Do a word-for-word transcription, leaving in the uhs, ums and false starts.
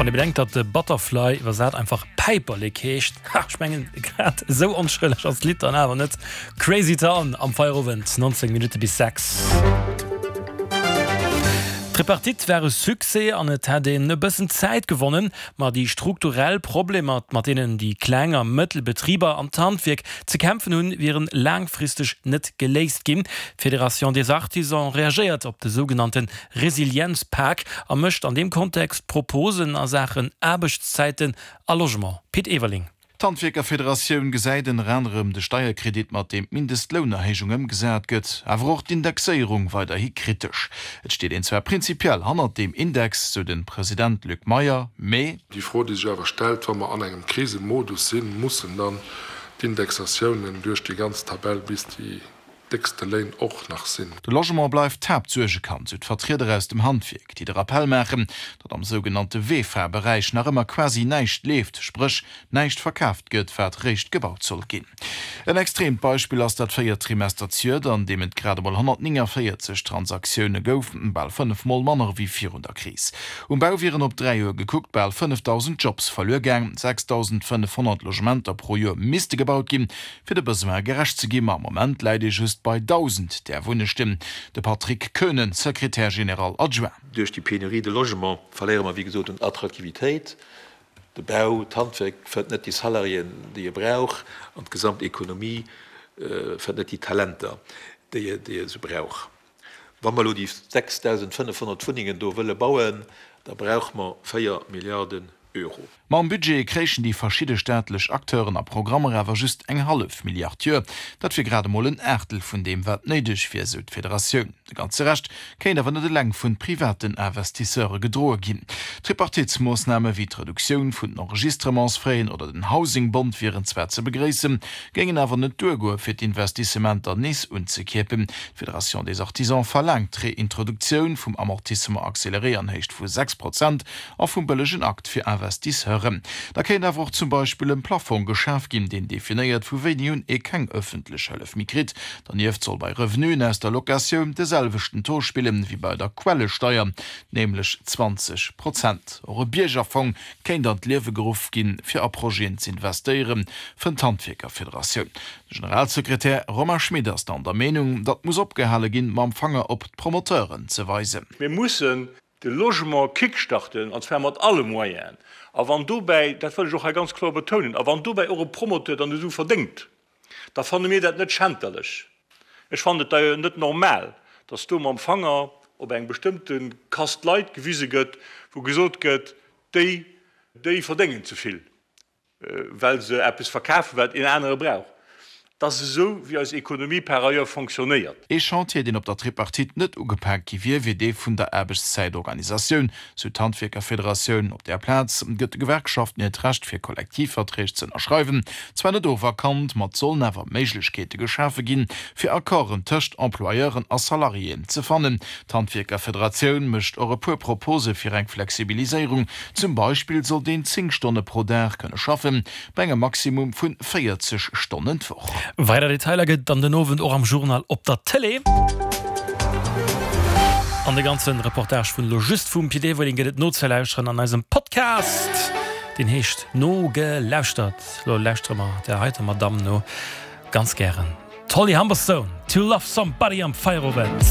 Wann ee bedenkt, datt de Butterfly iwwersat einfach Päiperlek heescht, ha, ech mengen, grad esou onschëlleg ass d'Lidd dann awer net. Crazy Town am Feierowend, nonzéng Minutte bis sechs. D'Tripartite war e Succès an et hätt een e bëssen Zäit gewonnen, ma déi strukturell Problemer, mat deenen déi kleng a mëttel Betriber an d'Handwierk ze kämpfen hunn, wieren laangfristeg net geléist ginn. D'Fédération des Artisans reagéiert op de sougenannte Resilienzpak a mécht an deem Kontext Proposen a Saachen Aarbechtszäiten a Logement. Pit Everling. D'Handwierkerfederatioun gesäit ënner anerem de Steierkredit, mat deem d'Mindestlounerhéijung ëmgesat gëtt, awer och d'Indexéierung weiderhi kritesch. Et steet een zwar prinzipiell hannert deem Index, sou de President Luc Meyer, mee. Déi Fro, déi sech awer stellt, wa mer an engem Krisemodus sinn, mussen dann d'Indexatiounen duerch déi ganz Tabell bis déi déckste Léin och nach sinn. De Logement bleift d'Haaptsuergekand, sou d'Vertrieder aus dem Handwierk, déi de Rappell maachen, datt am sougenannte VEFA-Beräich nach ëmmer quasi näischt leeft, spréch näischt verkaaft gëtt, wat réischt gebaut soll ginn. En extreemt Beispill ass dat véiert Trimester zejoert, an deem et grad emol honnertnénganvéierzeg Transaktioune gouf, bal fënnef Mol manner ewéi virun der Kris. Um Bau wieren op dräi Joer gekuckt bal fënnefdausend Jobs verluer gaang, sechsdausendfënnefhonnert Logementer pro Joer misste gebaut ginn, fir de Besoin gerecht ze ginn, ma am Moment läit ee just bei dausend där Wunnechten. De Patrick Koenen, Secrétaire général adjoint. Duerch déi Pénurie de logement verléiere mer wéi gesot un Attraktivitéit. De Bau, d'Handwerk fënnt net déi Salariéen, déi e brauch, an d'gesamt Ekonomie fënnt net déi Talenter, déi e sou brauch. Wa mer elo déi sechsdausendfënnefhonnert Wunnengen do wëlle bauen, da brauche mer véier Milliarden Euro. Mam Budget kréichen déi verschidde staatlech Acteuren a Programmer awer just eng hallef Milliard d'Joer. Dat wier grad emol en Aachtel vun deem, wat néideg wier, sou d'Federatioun. De ganze Rescht kéint awer net eleng vun privaten Investisseure gedroe ginn. Tripartitesmoossname wéi d'Reduktioun vun den Enregistrementsfraisen oder den Housing-Bond wieren zwar ze begréissen, géingen awer net duergoe fir d'Investissementer nees unzekierpen. D'Fédération des Artisans verlaangt d'Reintroduktioun vum Amortissement accéléré an Héicht vu sechs Prozent a vum bëllegen Akt fir Investisseuren. Da kéint awer och zum Beispill e Plafong geschaf ginn, deen definéiert, vu wéini un ee keng ëffentlech Hëllef méi kritt. Dernieft soll bei Revenuen aus der Locatioun de selwechten Taux spillen, wéi bei der Quellesteier, nämlech zwanzeg Prozent. Och e Biergerfong kéint an d'Liewe geruff ginn, fir a Projeten z'investéieren, fënnt d'Handwierkerfederatioun. De Generalsekretär Romain Schmit ass dann der Meenung, datt muss opgehale ginn, mam Fanger op d'Promoteuren ze weisen. Mir mussen de Logement kickstarten, an zwar mat alle Moyenen. A wann dobäi, dat wëll ech och hei ganz kloer betounen, a wann dobäi och e Promoteur dann esou verdéngt, da fanne mir dat net schänterlech. Ech fannen et d'ailleurs net normal, dass do mam Fanger op eng bestëmmte Kast Leit gewise gëtt, wou gesot gëtt, déi, déi verdéngen ze vill. well se eppes verkafen, wat een anere brauch. Et ass esou, wéi eis Ekonomie par ailleurs fonctionnéiert. Ee Chantier, deen op der Tripartite net ugepak gi wier, wier dee vun der Aarbechtszäitorganisatioun, sou d'Handwierkerfederatioun. Op där Plaz gëtt de Gewerkschaften hiert Recht fir Kollektivverträg ze ënnerschreiwen zwar net oferkannt, ma et sollen awer Méiglechkeete geschafe ginn, fir Accorden tëscht Employeuren a Salariéen ze fannen. D'Handwierkerfederatioun mécht och e puer Propose fir eng Flexibiliséierung. Zum Beispill sollt een zéng Stonne pro Dag kënne schaffen, bei engem Maximum vu véierzeg Stonnen d'Woch. Weider Detailer gëtt et dann den Owend och am Journal op der Tëlee. An de ganze Reportage vun elo just vum Pit Everling gëtt et nozelauschteren an eisem Podcast, deen heescht Nogelauschtert. Lo lauschtere mer där heiter Madamm no, ganz gären. D'Holly Humberstone, To Love Somebody am Feierowend.